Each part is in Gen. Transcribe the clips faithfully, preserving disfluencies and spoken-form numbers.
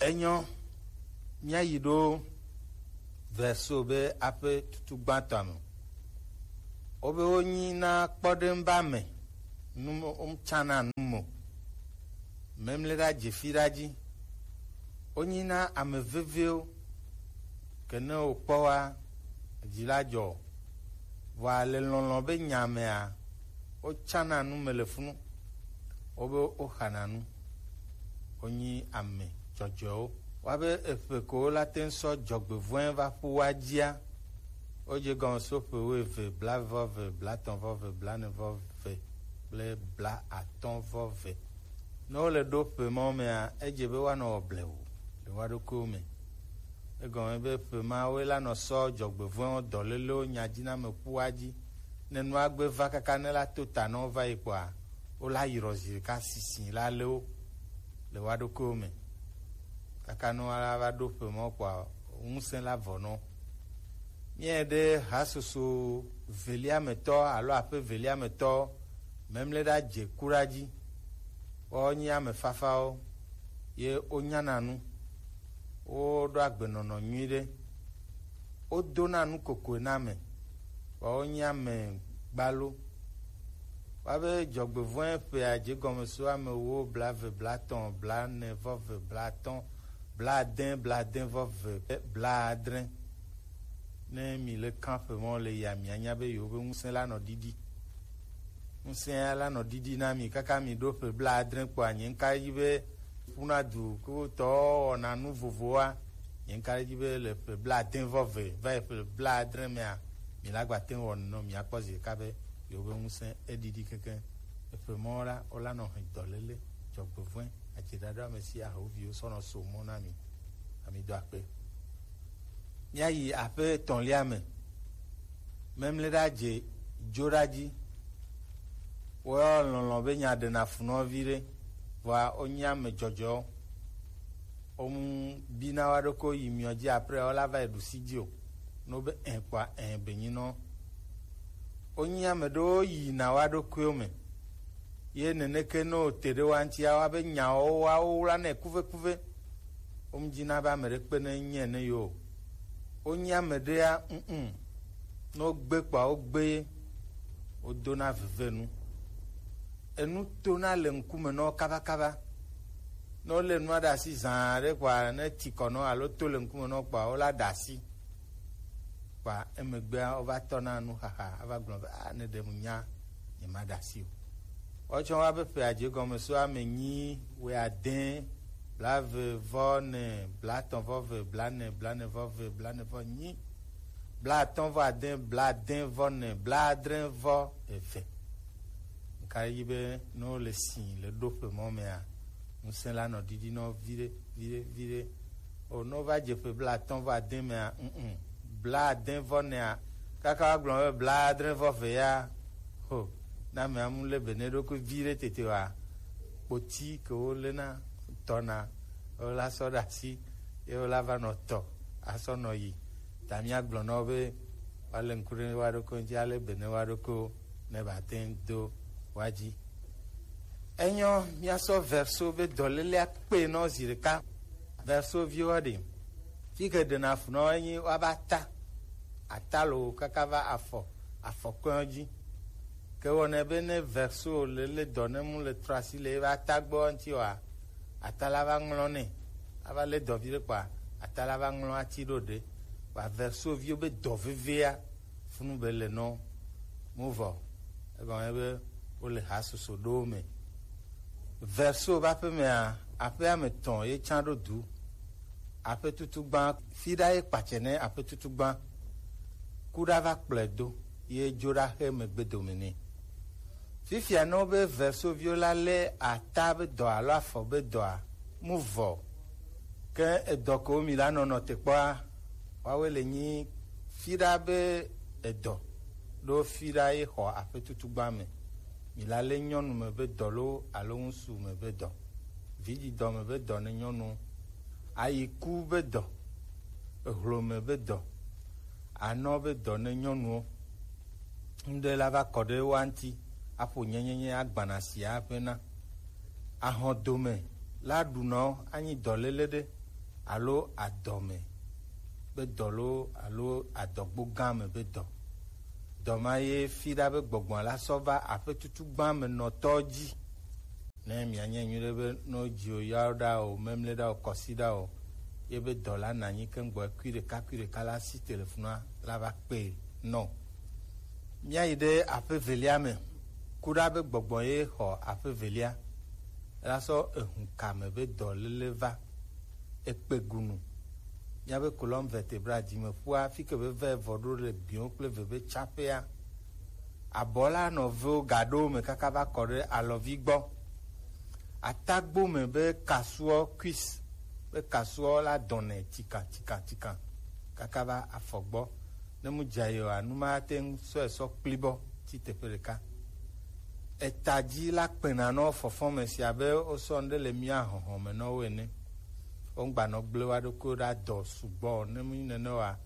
Enyo, míayi ɖo verso be aƒe tutu gbãtɔa me. Wobe wonyi na kpɔɖeŋu be ame nu, wotsana nu mo. Memle ɖa dzefi ɖa dzi. Wonyi na ame veviwo, ke ne wokpɔ wa, dzi la dzɔ. Vɔa le lɔlɔ̃ be nya mea, wotsana nu me le funu. Wobe woxana nu. Wonyi ame dzɔdzɔewo. Woabe eƒe ko la te ŋu sɔ dzɔgbevɔ̃e va ƒu wa dzia. Wodze gɔme so ƒe wuieve, blaeve vɔ eve, blaetɔ̃ vɔ eve, blaene vɔ eve kple blaatɔ̃ vɔ eve. Ne wole ɖo ƒe mawo mea, edze be woanɔ wɔ blewu le woa ɖokuiwo me. Egɔme be ƒe mawoe la nɔ sɔ dzɔgbevɔ̃ewo dɔlélewo nya dzi na ame ƒua dzi. Ne nua gbe va kaka ne la to ta na wo va yi kpɔa, wola yrɔ zi ɖeka sisi la lé wo le woa ɖokuiwo me. Kaka ne woala va ɖo ƒe mawo kpɔa, ŋusẽ la vɔ nɔ. Míaɖe hasoso velia me tɔ alo aƒe velia me tɔ memle ɖa dze ku ɖa dzi. Woawo nyi ame fafawo, ye wonyana nu, woɖo agbenɔnɔ nyui ɖe, wodona nu kokoe na ame, vɔa wonyi ame gbalo. Woabe dzɔgbevɔ̃e ƒea dze gɔme so ame wo blaeve, blaetɔ̃, blaene vɔ eve, blaatɔ̃, blaade, blaade vɔ eve, blaadre. Ne mi le kan ƒe mɔ le ya, mianya be yewo be ŋusẽ la nɔ ɖiɖi. Ŋusẽ la nɔ ɖiɖi na mi kaka mi ɖo ƒe blaadre kpɔa, nye ŋka edzi be ƒuna du ko tɔ wɔna nu vovowa. Nye ŋka edzi be le ƒe blaade vɔ eve va yi ƒe blaadre mea, mi la gba te ŋu wɔ nenɔ, mi akpɔ zi ɖeka be yewo be ŋusẽ eɖiɖi kekeŋ. Eƒe mɔ la, wola nɔ hɛn dɔléle, dzɔgbevɔ̃e, adziɖaɖa me si ahoviwo sɔ nɔ so mɔ na mi. Ami do akpe. Míayi aƒe etɔ̃lia me. Memle ɖa dze dzo ɖa dzi. Woyɔ lɔlɔ̃ be nya ɖena fu nɔ vi ɖe, vɔa wonye ame dzɔdzɔewo. Womu bina wa ɖokui yi miɔ dzi, après wola va yi ɖu si dzi o. Ne wobe ẽ kpɔa, ẽ be nyi nɔ. Wonye ame ɖewo yina wa ɖokuiwo me. Ye neneke ne wote ɖe wa ŋutia, woabe nyawo woawo wlanɛ kuvekuve. Womdina be ame ɖe kpe ne nye ne yewo o. Wonye ame ɖea, mm, ne wogbe kpɔa, wogbe ye. Wodona veve nu. Enu tona le ŋkume na wo kabakaba. Ne wolé nua ɖe asi zã ɖe kpɔa, ne ti kɔ na wo alo to le ŋkume na wo kpɔa, wola ɖe asi. Kpɔa emegbea wova tɔna nuxaxa ava gblɔ be, "Ah, ne ɖe mu nya, nyemaɖe asi o." Woawo tsã woabe ƒe adze gɔme so ame nyi, wuiade, blaeve vɔ ene, blaetɔ̃ vɔ eve, blaene, blaene vɔ eve, blaene vɔ enyi, blaatɔ̃ vɔ ade, blaade vɔ ene, blaadre vɔ eve. Ŋka yi be ne wole si le ɖoƒe mɔ mea, ŋusẽ la nɔ ɖiɖi nɔ viɖe, viɖe, viɖe. O, ne wova dze ƒe blaatɔ̃ vɔ ade mea, mm, blaade vɔ enea, kaka woagblɔ be blaadre vɔ eve ya, ho, ne amea mu lé be ne eɖokui viɖe tete wa, kpoti ke wolena tɔna, wola sɔ ɖe asi, ye wola va nɔ tɔ, asɔ nɔ yi. Ta míagblɔ na wo be woalé ŋku ɖe woa ɖokui ŋuti, alé be ne woa ɖokui ne ba te ŋu do wa dzi. Enyɔ, míasɔ verso be dɔlélea kpe nɔ zi ɖeka. Verso viwo ɖe. Fi ke ɖena fu nɔ enyi woaba ta. Ata lo kaka va afɔ, afɔkɔe dzi. Ke wɔnɛ be ne verso le, le dɔ ne mu le trɔ asi le ebe ata gbɔ ŋuti wa, ata la va ŋlɔ nɛ. Ava le dɔ vi ɖe kpɔa, ata la va ŋlɔ ati ɖo ɖe. Wa verso viwo be dɔ vevea, funu be le nɔ mu vɔ. Egɔme be wole ha soso ɖo me. Verso be aƒe mea, aƒe ame tɔ̃ ye tsã ɖo du. Aƒe tutu gbã, fi ɖa ye kpatsɛ ne aƒe tutu gbã. Ku ɖa va kplɔe do, ye dzo ɖa xe megbe dome nɛ. Fifia ne wobe verso viwo la lé ata be dɔ alo afɔ be dɔa, mu vɔ. Ke edɔ ko mi la nɔnɔ te kpɔa, woawoe le nyi fiɖa be edɔ ɖo fiɖa ye xɔ aƒe tutu gbã me. Mi la lé nyɔnu me be dɔ lo alo ŋusu me be dɔ. Vidzidɔ me be dɔ ne nyɔnu. Ayiku be dɔ. Ehlome be dɔ. Anɔ be dɔ ne nyɔnuwo. Ŋɖe la va kɔ ɖe woa ŋuti, aƒo nyenyenye agbana si aƒe na. Ahɔdome la ɖunɔ anyi dɔléle ɖe. alo adɔme be dɔ loo alo adɔgbo gã me be dɔ. Dɔ ma ye fi ɖa be gbɔgbɔ la sɔ va aƒe tutu gbã me nɔtɔ dzi. Ne mianye nyuie ɖe be no dziwo yawo ɖa o, memle ɖa o, kɔsi ɖa o, ye be dɔ la nanyi ke ŋgbɔ kui ɖeka kui ɖeka la si telefonua la va kpe nɔ. Míayi ɖe aƒe velia me. Ku ɖa be gbɔgbɔ ye xɔ aƒe velia. La sɔ ehu kame be dɔléle va. Ekpe gunu. Míabe colonne vertébrale, dzimeƒua, fi ke be vɛ vɔ ɖo le gbiwo kple ve be tsaƒea. Abɔ la nɔ vewo gaɖo me kaka va kɔ ɖe alɔvi gbɔ. Atagbo me be kasuɔ, cuisse, be kasuɔ la dɔnɛ tikan tikan tikan kaka va afɔ gbɔ. Ne mu dza yi oa, nu ma ate ŋu sɔe sɔ kpli bɔ tsi teƒe ɖeka. Eta dzi la kpena nɔ fɔfɔ me si abe wosɔ nu ɖe le mía hɔhɔ me nɔ wo ene. Wogba nɔ gble wa ɖokuiwo ɖa dɔ sugbɔ o. Ne mu nyi nene oa,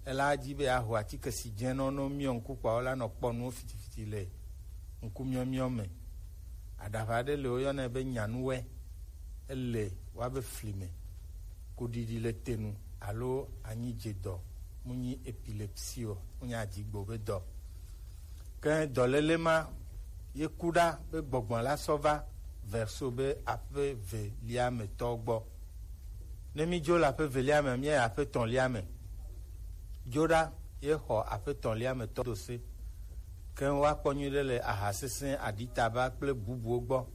ela dzi be yeaho atike si dze nɔ no miɔ ŋku kpɔ la nɔ kpɔ nuwo fitifiti le ŋkumiɔmiɔ me. Aɖaʋa ɖe le woyɔnɛ be nyanuwɛ. Ele woabe fli me. Kuɖiɖi le te nu alo anyi dze dɔ, mu nyi epilepsie o, mu nyi adigbo be dɔ. Ke dɔléle ma ye ku ɖa be gbɔgbɔ la sɔ va verso be aƒe velia me tɔ gbɔ. Ne mi dzo le aƒe velia me, mi yi aƒe tɔ̃lia me. Dzo ɖa ye xɔ aƒe tɔ̃lia me tɔ do se. Ke woakpɔ nyuie ɖe le aha sesẽ, aɖitaba kple bubuwo gbɔ.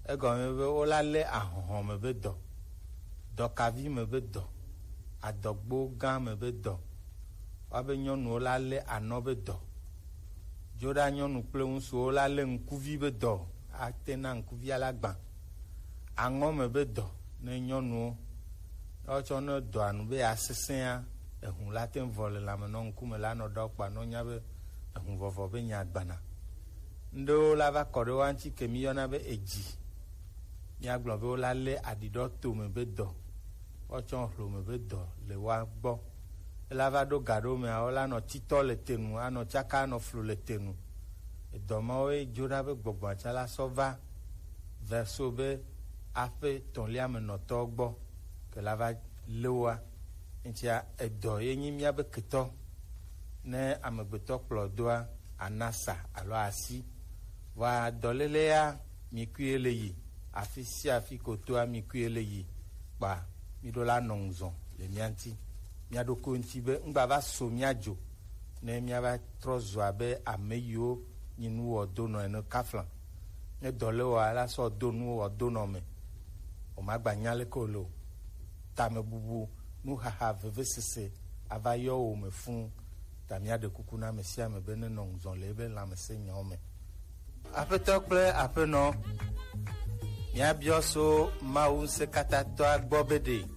Egɔme be wola lé ahɔhɔ me be dɔ, dɔkavi me be dɔ, adɔgbo gã me be dɔ. Woabe nyɔnuwo la lé anɔ be dɔ. Dzo ɖa nyɔnu kple ŋutsuwo la lé ŋkuvi be dɔ, ate na ŋkuvia la gbã. Aŋɔ me be dɔ ne nyɔnuwo. Woatsɔ ne dɔa nu be yeasesẽa, ehu la te ŋu vɔ le lãme nɔ ŋkume la nɔ ɖɔ kpa nɔ nya be ehu vɔvɔ be nya gbana. Ŋɖewo la va kɔ ɖe woa ŋuti ke mi yɔna be edzi. Míagblɔ be wola lé aɖiɖɔ tome be dɔ, woatsɔ hlome be dɔ le woa gbɔ. Ela va ɖo ga ɖewo mea, wola nɔ titɔ le te nu, anɔ tsaka, anɔ flu le te nu. Edɔ mawo ye dzo ɖa be gbɔgbɔa tsã la sɔ va verso be aƒe tɔ̃lia me nɔtɔwo gbɔ ke la va lé woa. Ŋutia edɔ ye nyi míabe ketɔ. Ne amegbetɔ kplɔ doa, anasa alo asi. Vɔa dɔléle ya, mi kui le yi, afi sia afi ko toa mi kui le yi, kpa mi ɖo la nɔ ŋuzɔ le mía ŋuti, mía ɖokui ŋuti be ŋgba va so mía dzo, ne mía va trɔ zu abe ame yiwo nyi nuwɔdonɔ ene kafla. Ne dɔ le wɔa, la sɔ do nuwɔdonɔ me. O ma gba nya leke o lo. Tamebubu, nuxaxa, vevesese ava yɔ wo me fũ. Ta míaɖe kuku na ame sia ame be nenɔ ŋuzɔ le ebe lãmesẽnyawo me. Aƒetɔ kple aƒenɔ, míabiɔ so Mawu Ŋusẽkatãtɔa gbɔ be ɖe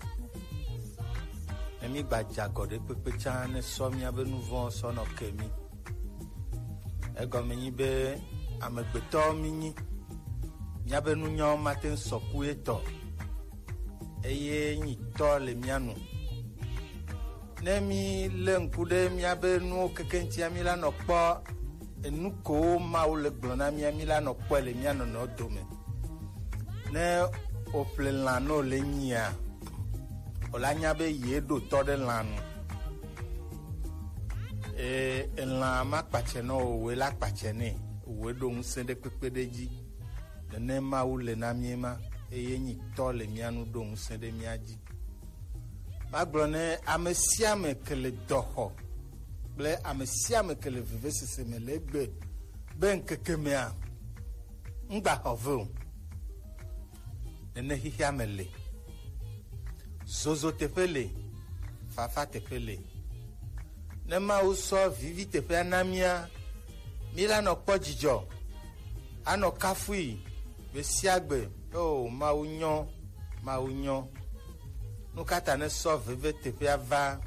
ne mígbadze agɔ ɖe kpekpe tsã, ne sɔ míabe nu vɔ̃ sɔ nɔ ke mí. Egɔme nyi be amegbetɔwo mínyi. Míabe nunyawo mate ŋu sɔ ku etɔ, eye nyi tɔ le mía nu. Ne mí lé ŋku ɖe míabe nuwo keke ŋutia, mí la nɔ kpɔ enu kowo Mawu le gblɔ na mía, mí la nɔ kpɔe le mía nɔnɔewo dome. Ne o ƒle lã ne o le nyia, o la nya be ye ɖo tɔ ɖe lã nu. Eye elã ma kpatsɛ nɔ o, woe la kpatsɛ nɛ, woe ɖo ŋusẽ ɖe kpekpe ɖe dzi. Nene Mawu le na mí ma, eye nyi tɔ le mía nu ɖo ŋusẽ ɖe mía dzi. Magblɔ ne ame sia ame ke le dɔ xɔ kple ame sia ame ke le vevesese me le egbe be ŋkeke mea, ŋgba xɔ ve o. Nene xexea me le. Zozo teƒe le, fafa teƒe le. Ne Mawu sɔ vivi teƒea na mía, mí la nɔ kpɔ dzidzɔ, anɔ kafui gbe sia gbe. O Mawu nyɔ, Mawu nyɔ. Nu ka ta ne sɔ veve teƒea va,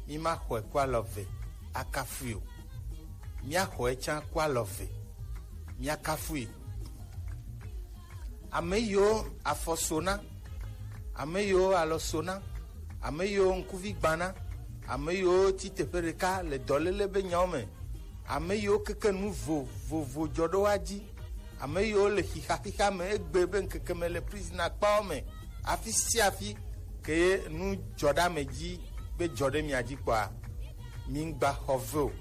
mí ma xɔe ku alɔ ve akafui o? Mía xɔe tsã ku alɔ ve, mía kafui. Ame yiwo afɔ so na, ame yiwo alɔ so na, ame yiwo ŋkuvi gbã na, ame yiwo tsi teƒe ɖeka le dɔléle be nyawo me, ame yiwo keke nu vovovo dzɔ ɖo woa dzi, ame yiwo le xixa xixa me egbe be ŋkeke me le prison akpawo me, afi sia afi, Ke nu dzɔ ɖe ame dzi be dzɔ ɖe mia dzi kpɔa, migba xɔ ve o.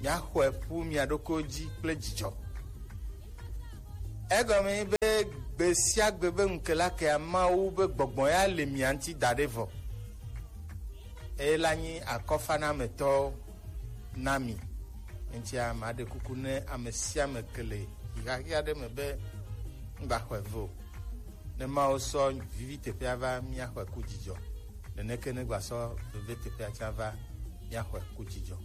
Miaxɔe ƒu mia ɖokuiwo dzi kple dzidzɔ. Egɔme be gbe sia gbe be ŋukela kea, Mawu be gbɔgbɔ ya le mia ŋuti da ɖe vɔ. Eye la nyi akɔfanametɔwo na mi. Eŋutia maɖe kuku ne ame sia ame ke le ɣaɣia ɖe me be ŋgbaxɔe ve o. Ne Mawu sɔ vivi teƒea va, míaxɔe ku dzidzɔ. Neneke ne gbasɔ veve teƒea tsã va, míaxɔe ku dzidzɔ.